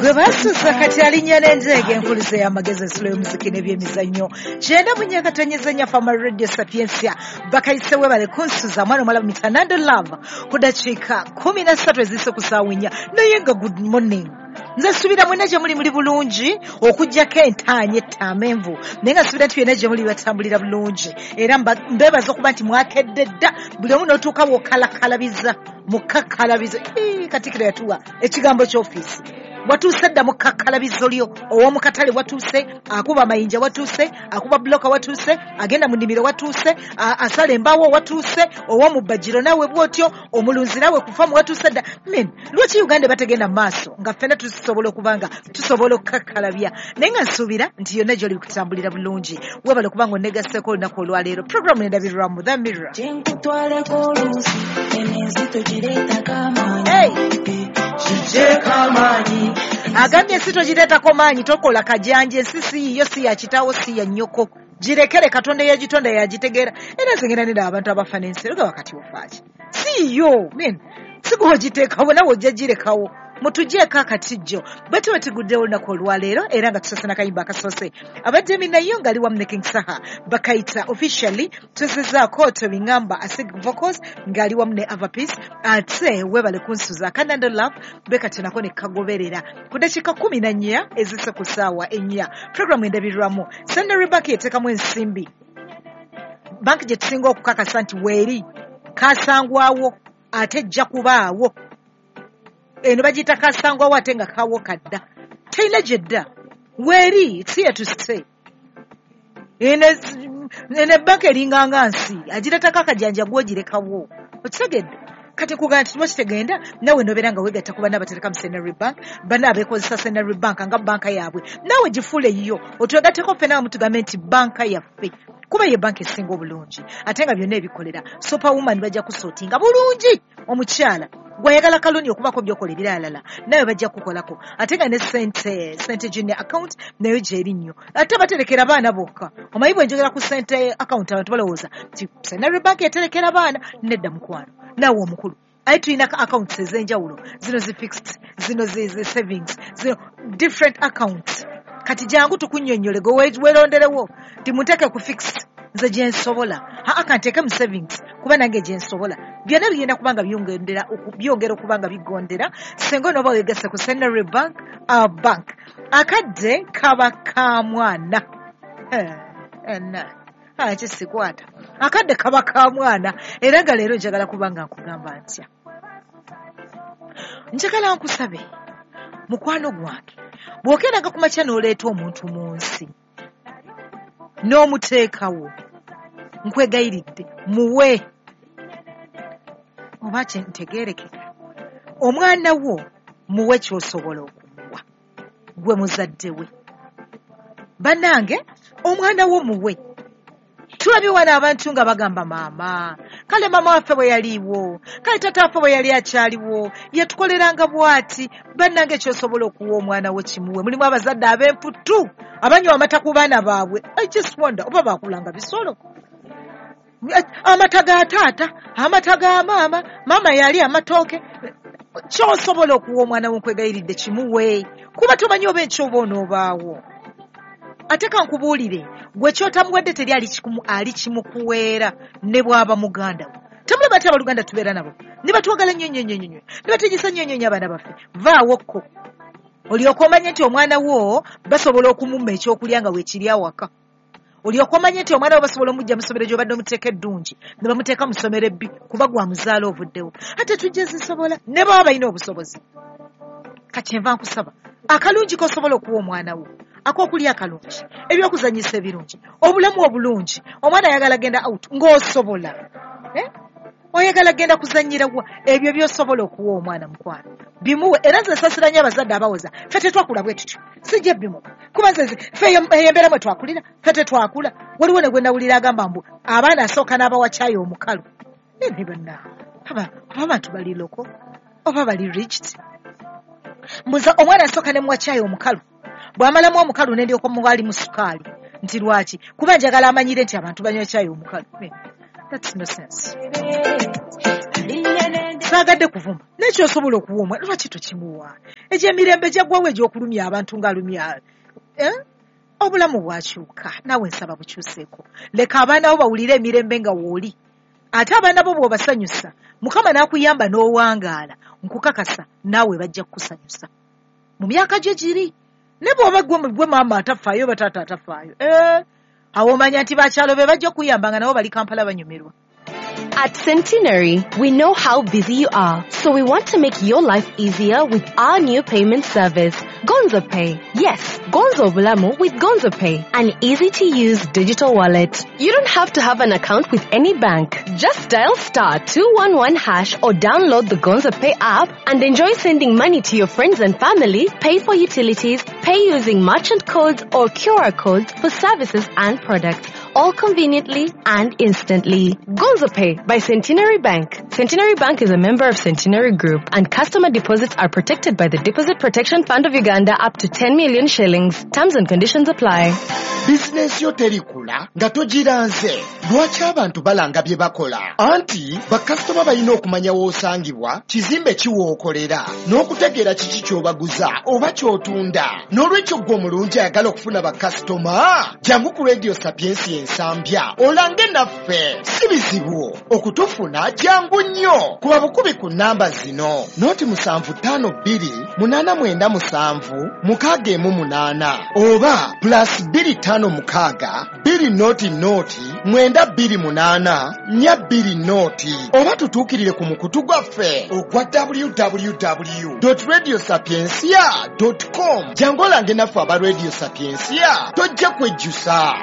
Gwe basusa kati alinnya n'enjeega enkuluze y'amagezi ensulo y'omuziki n'ebyemizannyo 94.4 Fama Radio Sapientia bakayise webale kunsuza mwana omwala Mitanando Love ku dakiika 13 eziyise ku ssaawa 4. Naye nga good morning, nze nsuubira mwenna gye muli muli bulungi okuggyako entaanya ettamenvu, naye nga nsuubira nti byonna gye muli batambulira bulungi, era mbeebaza okuba nti mwakedde dda buli omu n'otuuka w'okalakalabiza mukakkalabiza. Katikkiro yatuwa ekigambo ky'ofiisi. Watuuse dda mukakkalabizo lyo, ow'omu katale watuuse, akuba amayinja watuuse, akuba buloka watuuse, agenda mu nnimiro watuuse, asala embaawo watuuse, ow'omu bbajjiro naawe bw'otyo, omulunzi naawe kufamu watuuse dda. Men, lwaki Uganda bategenda mu maaso nga ffenna tusobola okuba nga tusobola okukakkalabya? Naye nga nsuubira nti yonna gy'oli kutambulira bulungi. Weebale okuba nga onnegasseeko olunaku olwaleero. Programu endabirwamu The Mirror. Hey! Agambye ensi togireetako maanyi, tokola kajanja, ensi si yiyo, si ya kitaawo, si ya nnyoko, girekere Katonda eyagitonda yagitegeera. Era nze ngenda nenda abantu abafa n'ensi era wakati ofaaki si yiyo, men si gwe ogiteekawo, nawe ojja girekawo. Mutugyeko akatijjo bwe tuba tuguddewo olunaku olwaleero, era nga tusoose n'akayimba akasoose abadde nayo ng'ali wamu ne King Saha bakayita officially tuzizaako Tobingamba Asig Vocals ng'ali wamu ne Ava Peace. Ate weebale kunsuza Kanando Love bekati nako ne kagoberera ku dakiika 14 ezise ku ssaawa 4. Programu endabirwamu Centenary Bank yeteekamu ensimbi, banki gye tusinga okukakasa nti weeri kasangwawo ate ejja kubaawo. Eno bagiyita kasangwawo ate nga kawo kadda, terina gyedda, weeri, it's here to stay. Eno ebbanka eringanga nsi, agireetako akajanja gw'ogirekawo, okitegedde? Kati nkugamba nti tuba kitegenda naawe nobeera nga weegatta ku banna abatereka mu Centenary Bank, banna abeekozesa Centenary Bank nga banka yaabwe, naawe gifuule yiyo, otwegatteko ffenna wamu tugambe nti banka yaffe, kuba ye banka esinga obulungi ate nga byonna ebikolera. Superwoman bajja kusootinga bulungi omukyala gwayagala kaloni okubako by'okola ebiralala nawe bajja kukolako, ate nga ne sente junior account nayo gyeri nnyo, ate baterekera baana bokka. Omanyi bwe njogera ku sente account abantu balowooza nti Centenary Bank eterekera baana. Nedda mukwano, naawe omukulu aye tulina accounts ez'enjawulo, zino zi fixed, zino zi savings, zino different accounts. Kati jangu tukunnyonnyole gwe weeronderewo nti munteeke ku fixed nze gye nsobola, aa kanteeke mu savings kuba nange gye nsobola. Byonna bigenda kuba nga byongera okuba nga bigondera singa onooba weegasse ku Centenary Bank, our bank. Akadde kaba ka mwana. Kisikwata akadde kaba ka mwana. Era nga leero njagala kuba nga nkugamba ntya, njagala nkusabe mukwano gwange, bw'okeeranga ku makya n'oleeta omuntu mu nsi n'omuteekawo, nkwegayiridde muwe, oba ntegeerekeka, omwana wo muwe ky'osobola okumuwa gwe muzadde we. Bannange omwana wo muwe. Tulabye wano abantu nga bagamba maama, kale maama waffe bwe yaliiwo, kale taata waffe bwe yali akyaliwo, yatukoleranga bw'ati. Bannange ky'osobola okuwa omwana wo kimuwe. Mulimu abazadde ab'emputu abanywa amata ku baana baabwe. I just wonder oba baakulanga bisolo. Amata ga taata, amata ga maama, maama yali amatooke. Ky'osobola okuwa omwana wo nkwegayiridde kimuwe, kuba tomanyi oba enkya oba onoobaawo. Ate kankubuulire, gwe ky'otamuwadde teri ali kimukuweera ne bw'aba muganda wo. Temulaba nti abaluganda tubeera nabo ne batwagala nnyo nnyo nnyo nnyo, ne bategesa nnyo nnyo nnyo abaana baffe. Vaawo kko olyoke omanye nti omwana wo basobola okumumma ekyokulya nga weekiri awaka. Olyoke omanye nti omwana wo basobola omujja mu ssomero gy'obadde omuteeka eddungi ne bamuteeka mu ssomero ebbi kuba gwa muzaala ovuddewo. Ate tujja zisobola ne baba balina obusobozi. Kati nva nkusaba akalungi k'osobola okuwa omwana wo, ak'okulya akalungi, ebyokuzannyisa ebirungi, obulamu obulungi. Omwana ayagala genda out ng'osobola, oyagala genda kuzannyira wa, ebyo by'osobola okuwa omwana mukwano bimuwe. Era nze nsaasira nnyo abazadde abawoza ffe tetwakula bwe tutyo, sijja bimuwa kuba nze ffe eyo embeera mwe twakulira, ffe tetwakula. Waliwo ne gwe nawulira agamba mbu abaana asooka n'abawa caayi omukalu. Ne banna aba abantu bali loko oba bali rigid. Mbuza omwana asooka ne muwa caayi omukalu, bw'amalamu omukalu ne ndyoka muwa alimu sukaali, nti lwaki? Kuba njagala amanyire nti abantu banywa caayi omukalu. That's no sense. Saagadde kuvuma, naye kyosobola okuwa omwana lwaki tokimuwa? Egyemirembe gyaggwawo egy'okulumya abantu ng'alumya Obulamu bwakyuka, naawe nsaba bukyuseeko. Leka abaana bo bawulire emirembe nga wooli. Ate abaana bo bw'obasanyusa, Mukama n'akuyamba n'owangaala, nkukakasa naawe bajja kukusanyusa mu myaka gyo giri. Ne bw'oba gwe maama atafaayo oba taata atafaayo, awo omanya nti bakyalo be bajja okuyamba nga nabo bali Kampala banyumirwa. At Centenary, we know how busy you are, so we want to make your life easier with our new payment service, Gonzo Pay. Yes, Gonzo Bulamu with Gonzo Pay, an easy-to-use digital wallet. You don't have to have an account with any bank. Just dial *211# or download the Gonzo Pay app and enjoy sending money to your friends and family, pay for utilities, pay using merchant codes or QR codes for services and products, all conveniently and instantly. Gonzo Pay by Centenary Bank. Centenary Bank is a member of Centenary Group, and customer deposits are protected by the Deposit Protection Fund of Uganda up to 10 million shillings. Terms and conditions apply. Bizinensi yo terikula nga togiranze. Lwaki abantu balanga bye bakola? Anti bakasitoma balina okumanya w'osangibwa, kizimbe ki w'okolera, n'okutegeera kiki ky'obaguza oba ky'otunda. N'olwekyo ggwe omulungi ayagala okufuna bakasitoma, jangu ku Radio Sapientia Ensambya olange naffe. Si bizibu okutufuna, jangu nnyo. Kuba bukubi ku nnamba zino: 0752 897 618 oba +256 200 928 420, oba tutuukirire ku mukutu gwaffe ogwa www.radiosapientia.com. Jangu olange naffe aba Radio Sapientia, tojja kwejjusa.